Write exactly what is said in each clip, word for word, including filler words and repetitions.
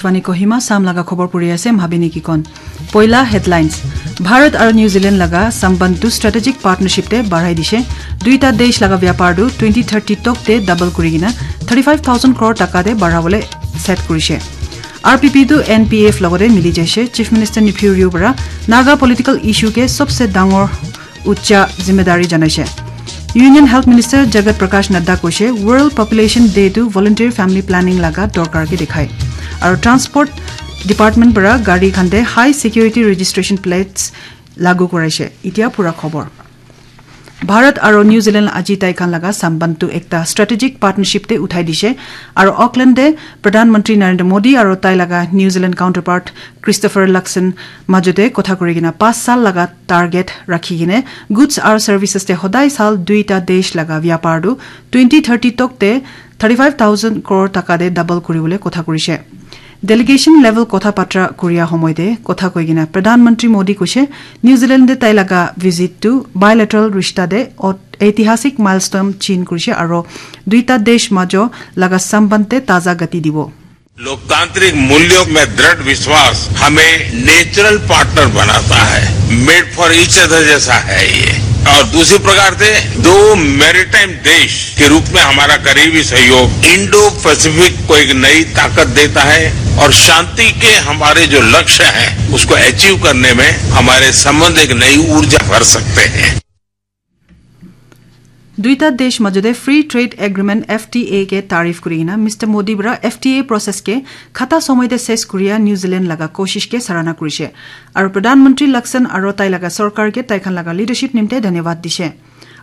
Fani Kohima, Sam laga khobor puri ase, Mhabini Kikon. Poila headlines. Bharat aru New Zealand laga samband tu strategic partnership te barai dishe. Duita desh laga vyapar tu twenty thirty tok te double kuri kena thirty five thousand crore taka te barabole set kurishe. R P P tu N P F logote mili jaishe. Chief Minister Neiphiu Rio para Naga political issue ke sabse dangor ucha zimedari janaishe. Union Health Minister Jagat Prakash Nadda koishe World Population Day tu voluntary family planning laga dorkar ke dikhai. Aru transport department para gari khan te high security registration plates lagu koraishe. Itia pura khobor. Bharat aru New Zealand aji tai khan laga samband tu ekta strategic partnership te uthai dishe. Aru Auckland te Pradhan Mantri Narendra Modi aru tai laga New Zealand counterpart Christopher Luxon majote kotha kuri kena pas sal laga target rakhi kene goods aru services te hodai sal duita desh laga vyapar tu twenty thirty tok te thirty five thousand crore taka te double kuribole kotha kurishe. Delegation level kotha patra kuria homoy te kotha koi kena Pradhan Mantri Modi koishe New Zealand te tai laga visit tu bilateral rishta te ot-, eitisik milestone chin kurishe aru duita desh majo laga samband te taza gati dibo. लोकतांत्रिक मूल्यों में दृढ़ विश्वास हमें नेचुरल पार्टनर बनाता है, मेड फॉर ईच अदर जैसा है ये। और दूसरी प्रकार से दो मैरीटाइम देश के रूप में हमारा करीबी सहयोग इंडो पैसिफिक को एक नई ताकत देता है और शांति के हमारे जो लक्ष्य हैं उसको अचीव करने में हमारे संबंध एक नई ऊर्जा भर सकते हैं। Duita desh majote Free Trade Agreement F T A ke tarif kuri kena Mister Modi para F T A process ke khata somoy te ses kuria New Zealand laga koshish ke sarana kurishe. Aru Pradhan Mantri Luxon aru tai laga sorkar ke tai khan laga leadership nimte dhanyavad dishe.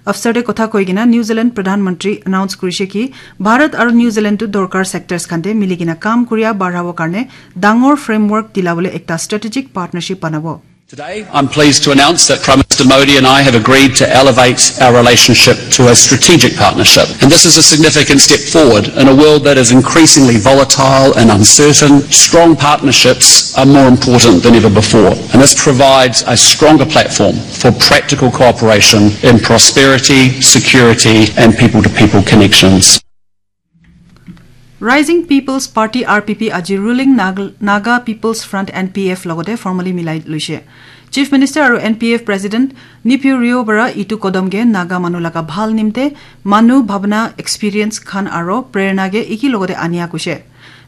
Afsar te kotha koi kena New Zealand Pradhan Mantri announce kurishe ki Bharat aru New Zealand tu dorkar sectors khan te mili kena kam kuria barhabo karne dangor framework dilabole ekta strategic partnership banabo. Today, I'm pleased to announce that Prime Minister Modi and I have agreed to elevate our relationship to a strategic partnership. And this is a significant step forward in a world that is increasingly volatile and uncertain. Strong partnerships are more important than ever before. And this provides a stronger platform for practical cooperation in prosperity, security, and people to people connections. Rising People's Party, R P P, aji ruling Nag-, Naga People's Front, N P F, logote formally milai luishe. Chief Minister aru N P F President Neiphiu Rio para itu kodom ke Naga manu laga bhal nimte manu bhabna, experience khan aru prerna ke iki logote ania kushe.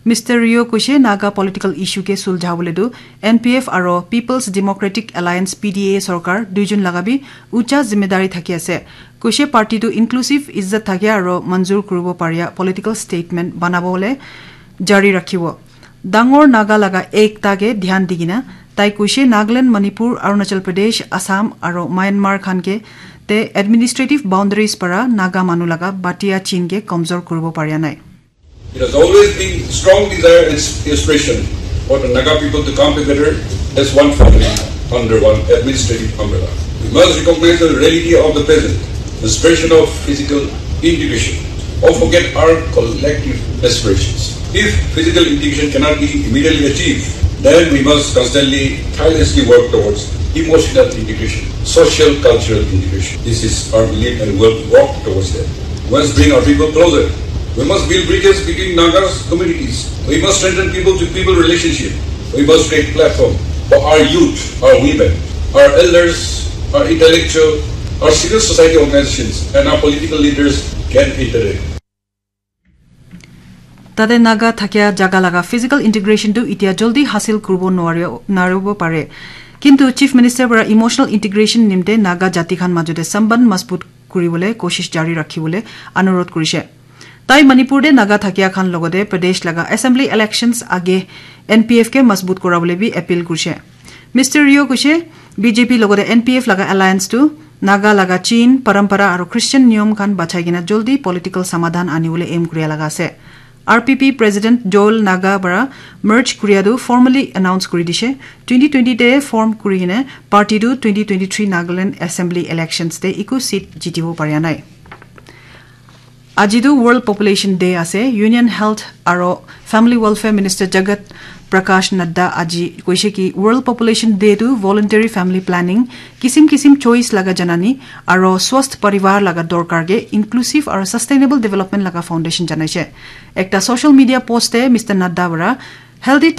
Mister Rio kushe Naga political issue ke suljha bole tu N P F aru People's Democratic Alliance, P D A, sorkar duijun laga bi ucha zimedari thaki ase. Kushe party tu inclusive, izzat thakia aru manzur kuribo paria political statement banabole jari rakhibo. Dangor Naga laga ekta ke dhyan digina tai kushe Nagaland, Manipur, Arunachal Pradesh, Assam aru Myanmar khan ke te administrative boundaries para Naga manu laga batia chin ke kamjor kuribo paria nai. It has always been strong desire and aspiration for the Naga people to come together as one family under one administrative umbrella. We must recognize the reality of the present, the aspiration of physical integration, or forget our collective aspirations. If physical integration cannot be immediately achieved, then we must constantly, tirelessly work towards emotional integration, social cultural integration. This is our belief and we will work towards that. We must bring our people closer. We must build bridges between Nagas communities. We must strengthen people to people relationship. We must create platform for our youth, our women, our elders, our intellectual, our civil society organizations, and our political leaders can interact. Tate Naga thakia jaga laga physical integration tu itia joldi hasil kuribo nuario-, nuaribo pare. Kintu Chief Minister para emotional integration nimte Naga jati khan majote samband mazbut kuribole koshish jari rakhibole anurodh kurishe. Tai Manipur te Naga thakia khan logote Pradesh laga assembly elections age N P F ke mazbut korabole bi appeal kurishe. Mister Rio kushe B J P logote N P F laga alliance tu Naga laga chin, parampara aru Christian niyom khan bachai kena joldi political samadhan anibole aim kuria laga ase. R P P President Joel Naga para merge kuria tu formally announce kuri dishe. Twenty twenty te form kuri kena party tu twenty twenty-three Nagaland Assembly elections te eku seat jitibo paria nai. Aji tu World Population Day ase. Union Health aro Family Welfare Minister Jagat Prakash Nadda aji koise ki World Population Day tu voluntary family planning, kisim kisim choice laga janani aro swasth parivar laga dorkar ke inclusive aro sustainable development laga foundation janaise. Ekta social media post te Mister Nadda para Healthy diet